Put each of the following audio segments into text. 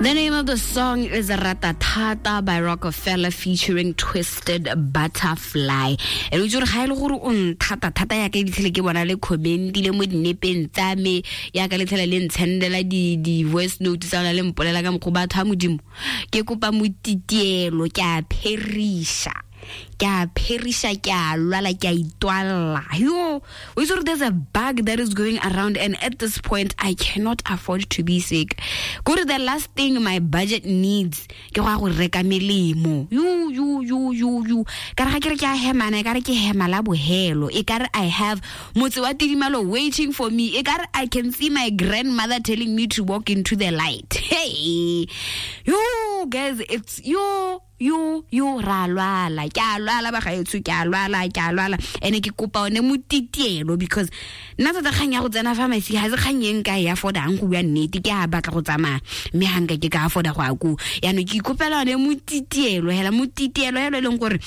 The name of the song is Ratatata by Rockefeller featuring Twisted Butterfly. E le gore ga ile gore o nthata thata ya ka ditlhele ke bona le commentile mo dinepeng tsa me ya ka letlhele le ntshendela di di voice note tsa le mpolela ka mokgwa batho a modimo ke kopa motitielo ke a pherisha ke a pheriša ke a lwala ke a itwalla. Yo, o itse gore there's a bug that is going around, and at this point I cannot afford to be sick. Kore the last thing my budget needs ke go ya go reka melemo. Yo yo yo yo yo, ka re ga ke re ke a hemana, e ka re ke hema la bohelo, e ka re I have motse wa tidimalo waiting for me, e ka re I can see my grandmother telling me to walk into the light. Hey, yo guys, it's yo yo yo, ra lwala, ke a lwala bagaetsho, ke a lwala, ke a lwala. Ene ke kopa one motitielo because nna tota kgang ya go tsena pharmacy ga se kgang e nka e affordang, go bua nnete. Ke a batla go tsamaya mme ga nka ke ka afforda go ya koo. Yaanong ke ikopela one motitielo hela, motitielo helo e leng gore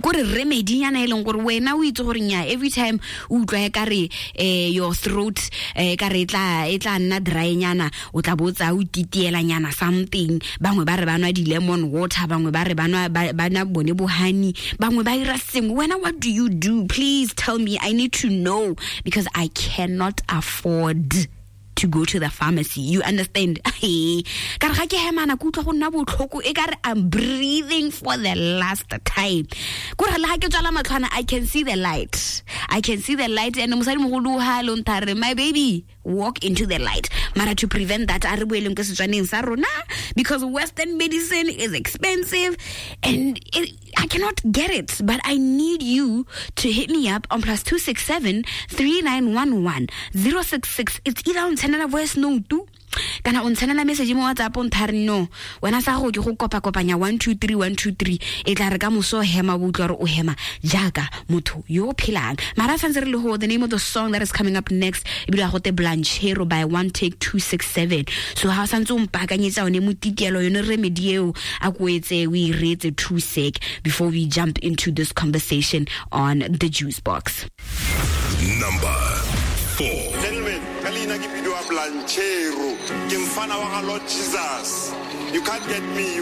kore remedy-nyana e leng gore wena o itse gore nya every time o utlwa e kare your throat kare e tla nna dry-nyana, o tla bo tsaya o titielanyana something. Bangwe ba re ba nwa di-lemon water, bangwe ba re ba nwa ba nwa bone bo honey, bangwe ba ira sengwe. Wena, what do you do? Please tell me, I need to know because I cannot afford to go to the pharmacy, you understand? Ka re ga ke hemana ke utlwa go nna botlhoko, e ka re I'm breathing for the last time. Kore le ga ke tswala matlhwana, I can see the light, I can see the light. And mosadi mogolo ha le nthare, "My baby, walk into the light." Mara to prevent that, a re boeleng ko setswaneng sa rona because Western medicine is expensive and I cannot get it. But I need you to hit me up on +267 3911 066. It's either on ntshendela voice note kana o ntshendela message mo WhatsApp, o nthare no wena sa go ke go kopa-kopanya 1 2 3 1 2 3. E tla re ka moso hema, bo utlwa gore o hema jaaka motho yo o phelang. Mara santse re le go, the name of the song that is coming up next ebile ga gote Blanchero by One Take 267. So ga o santse o mpaakanyetsa one motitielo, yone remedy eo, a ko etse o e reetse two sec before we jump into this conversation on The Juice Box. Number 4. Gentlemen, ka leina ke bidiwa Blanchero, ke mfana wa ga Lord Jesus. You can't get me, you